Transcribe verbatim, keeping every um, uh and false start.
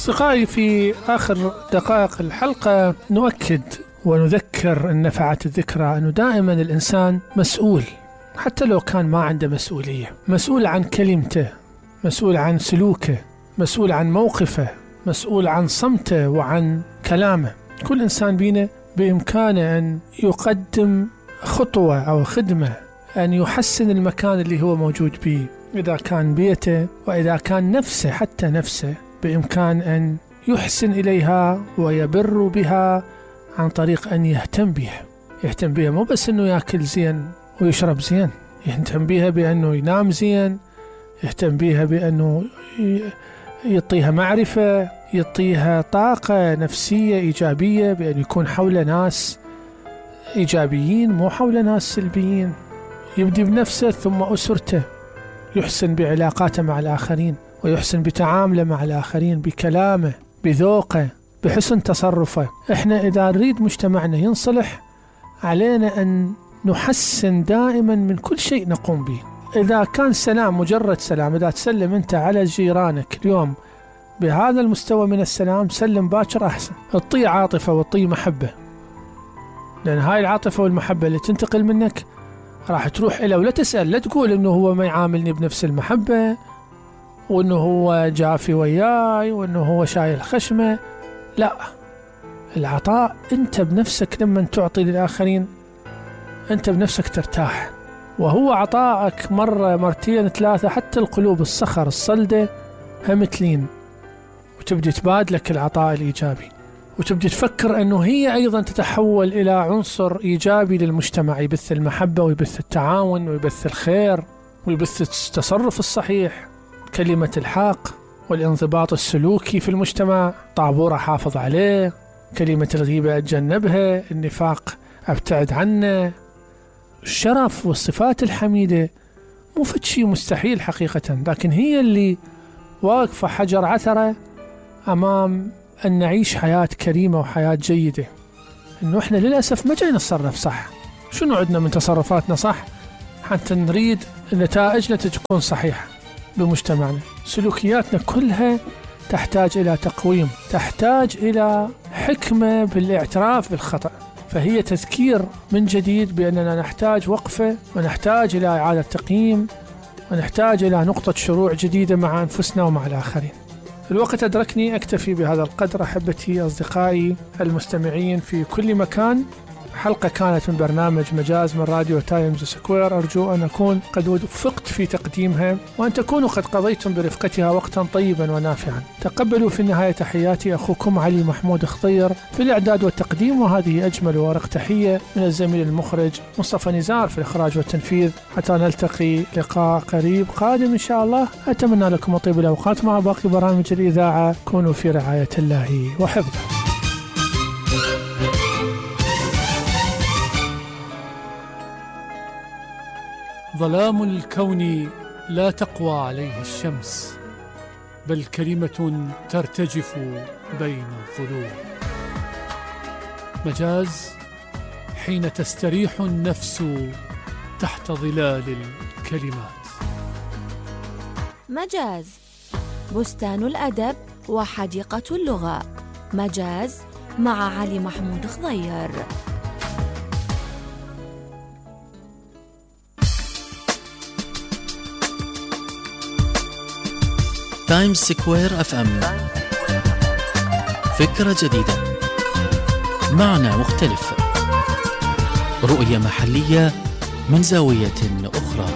أصدقائي، في آخر دقائق الحلقة نؤكد ونذكر أن نفعت الذكرى أنه دائما الإنسان مسؤول، حتى لو كان ما عنده مسؤولية، مسؤول عن كلمته، مسؤول عن سلوكه، مسؤول عن موقفه، مسؤول عن صمته وعن كلامه. كل إنسان بينا بإمكانه أن يقدم خطوة أو خدمة، أن يحسن المكان اللي هو موجود به، إذا كان بيته وإذا كان نفسه، حتى نفسه بإمكان أن يحسن إليها ويبر بها عن طريق أن يهتم بها. يهتم بها مو بس أنه يأكل زين ويشرب زين، يهتم بها بأنه ينام زين، يهتم بها بأنه يعطيها معرفة، يعطيها طاقة نفسية إيجابية، بأن يكون حول ناس إيجابيين مو حول ناس سلبيين. يبدي بنفسه ثم أسرته، يحسن بعلاقاته مع الآخرين، ويحسن بتعامله مع الآخرين، بكلامه، بذوقه، بحسن تصرفه. إحنا إذا نريد مجتمعنا ينصلح علينا أن نحسن دائما من كل شيء نقوم به. إذا كان سلام مجرد سلام، إذا تسلم أنت على جيرانك اليوم بهذا المستوى من السلام، سلم باكر أحسن. اطي عاطفة واطي محبة، لأن هاي العاطفة والمحبة اللي تنتقل منك راح تروح إلى، ولا تسأل، لا تقول إنه هو ما يعاملني بنفس المحبة، وإنه هو جافي وياي، وإنه هو شايل خشمة. لا، العطاء أنت بنفسك لما تعطي للآخرين أنت بنفسك ترتاح، وهو عطائك مرة مرتين ثلاثة حتى القلوب الصخر الصلدة هم تلين، وتبدي تبادلك العطاء الإيجابي، وتبدي تفكر أنه هي أيضا تتحول إلى عنصر إيجابي للمجتمع، يبث المحبة ويبث التعاون ويبث الخير ويبث التصرف الصحيح، كلمة الحق والانضباط السلوكي في المجتمع. طابور حافظ عليه، كلمة الغيبة أتجنبها، النفاق أبتعد عنه. الشرف والصفات الحميدة مو فد شيء مستحيل حقيقة، لكن هي اللي واقفة حجر عثرة أمام أن نعيش حياة كريمة وحياة جيدة. إنه إحنا للأسف ما جاي نتصرف صح. شنو عندنا من تصرفاتنا صح حتى نريد نتائجنا تكون صحيحة بمجتمعنا؟ سلوكياتنا كلها تحتاج إلى تقويم، تحتاج إلى حكمة بالاعتراف بالخطأ. فهي تذكير من جديد بأننا نحتاج وقفة، ونحتاج إلى إعادة تقييم، ونحتاج إلى نقطة شروع جديدة مع أنفسنا ومع الآخرين. الوقت أدركني، أكتفي بهذا القدر. أحبتي أصدقائي المستمعين في كل مكان، حلقة كانت من برنامج مجاز من راديو تايمز سكوير. أرجو أن أكون قد وفقت في تقديمها، وأن تكونوا قد قضيتم برفقتها وقتا طيبا ونافعا. تقبلوا في النهاية تحياتي أخوكم علي محمود خضير في الإعداد والتقديم، وهذه أجمل ورق تحية من الزميل المخرج مصطفى نزار في الإخراج والتنفيذ. حتى نلتقي لقاء قريب قادم إن شاء الله، أتمنى لكم طيب الأوقات مع باقي برامج الإذاعة. كونوا في رعاية الله وحفظه. ظلام الكون لا تقوى عليه الشمس، بل كلمة ترتجف بين الظلوم. مجاز حين تستريح النفس تحت ظلال الكلمات. مجاز بستان الأدب وحديقة اللغة. مجاز مع علي محمود خضير. تايمز سكوير اف ام، فكرة جديدة، معنى مختلف، رؤية محلية من زاوية أخرى.